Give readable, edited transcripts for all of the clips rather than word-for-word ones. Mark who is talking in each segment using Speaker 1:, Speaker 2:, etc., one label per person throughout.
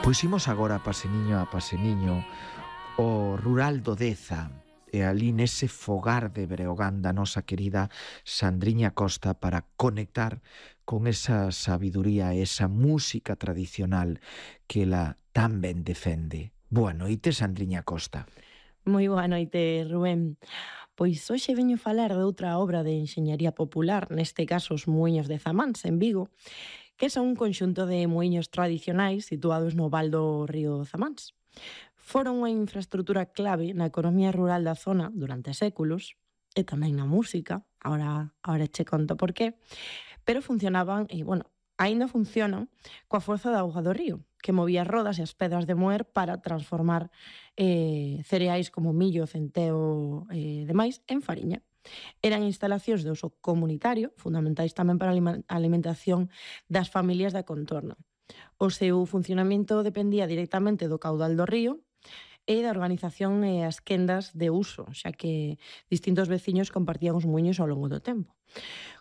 Speaker 1: Pois imos agora paseniño a paseniño o rural do Deza e ali nese fogar de Breogán da nosa querida Sandriña Costa para conectar con esa sabiduría e esa música tradicional que ela tan ben defende. Boa noite, Sandriña Costa.
Speaker 2: Moi boa noite, Rubén. Pois hoxe veño falar de outra obra de enxeñaría popular, neste caso os Muiños de Zamáns, en Vigo, que son un conxunto de muiños tradicionais situados no val do río Zamáns. Foron unha infraestrutura clave na economía rural da zona durante séculos e tamén na música, ahora che conto por qué, pero funcionaban e, bueno, aínda funcionan coa forza da auga do río, que movía as rodas e as pedras de moer para transformar cereais como millo, centeo e demais en fariña. Eran instalacións de uso comunitario, fundamentais tamén para a alimentación das familias da contorna. O seu funcionamento dependía directamente do caudal do río e da organización e as quendas de uso, xa que distintos veciños compartían os muiños ao longo do tempo.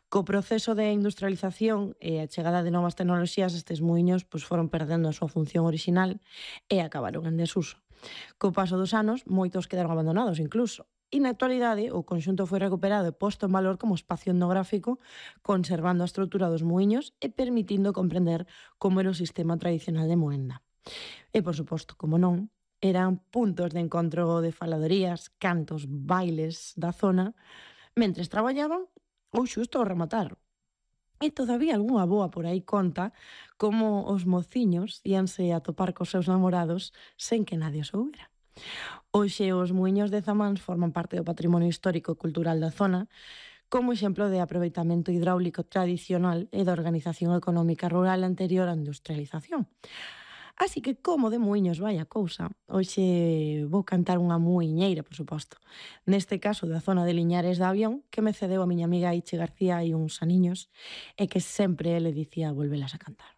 Speaker 2: Co proceso de industrialización e a chegada de novas tecnoloxías, estes muiños foron perdendo a súa función orixinal e acabaron en desuso. Co paso dos anos, moitos quedaron abandonados incluso. E na actualidade, o conxunto foi recuperado e posto en valor como espacio etnográfico, conservando a estrutura dos muiños e permitindo comprender como era o sistema tradicional de moenda. E, por suposto, como non, eran puntos de encontro de faladorías, cantos, bailes da zona, mentres traballaban ou xusto ao rematar. E todavía algunha boa por aí conta como os mociños íanse a topar cos seus namorados sen que nadie o soubera. Hoxe os muiños de Zamáns forman parte do patrimonio histórico e cultural da zona como exemplo de aproveitamento hidráulico tradicional e da organización económica rural anterior á industrialización. Así que, como de muiños vai a cousa, hoxe vou cantar unha muiñeira, por suposto. Neste caso, da zona de Liñares da Avión, que me cedeu a miña amiga Ichi García hai uns aniños, e que sempre ele dicía volvelas a cantar.